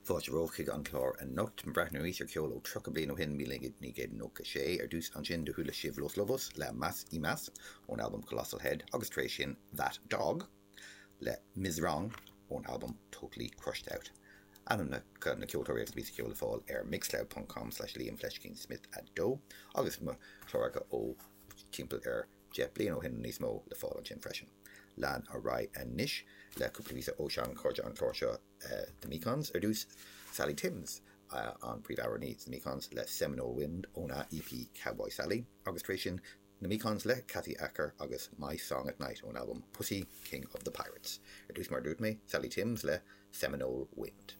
Fáilte romhaibh chuig an chlár anocht. Breathnú arís ar cheol ó 30 bliain ó shin, 1996. Ar dtús ansin do chuala sibh Los Lobos le Más y Más ón albam Colossal Head agus tar éis sin That Dog le Ms Wrong ón albam Totally Crushed Out. Ainmneacha na ceoltóirí agus na píosaí ceoil le fáil ar mixcloud ponc com slash Liam fleiscín Smith 2 agus mo chláracha ó timpeall ar 10 bliain ó shin nó níos mó le fáil ansin freisin. Lean ar aghaidh anois le cúpla píosa ó sean-chairde an chláir seo. The Mekons ar dtús, Sally Timms an príomhamhránaí sna Mekons le Seminole Wind óna EP Cowboy Sally agus tar éis sin na Mekons le Kathy Acker agus My Song at Night ón albam Pussy King of the Pirates. Ar dtús mar a dúirt mé, Sally Timms le Seminole Wind.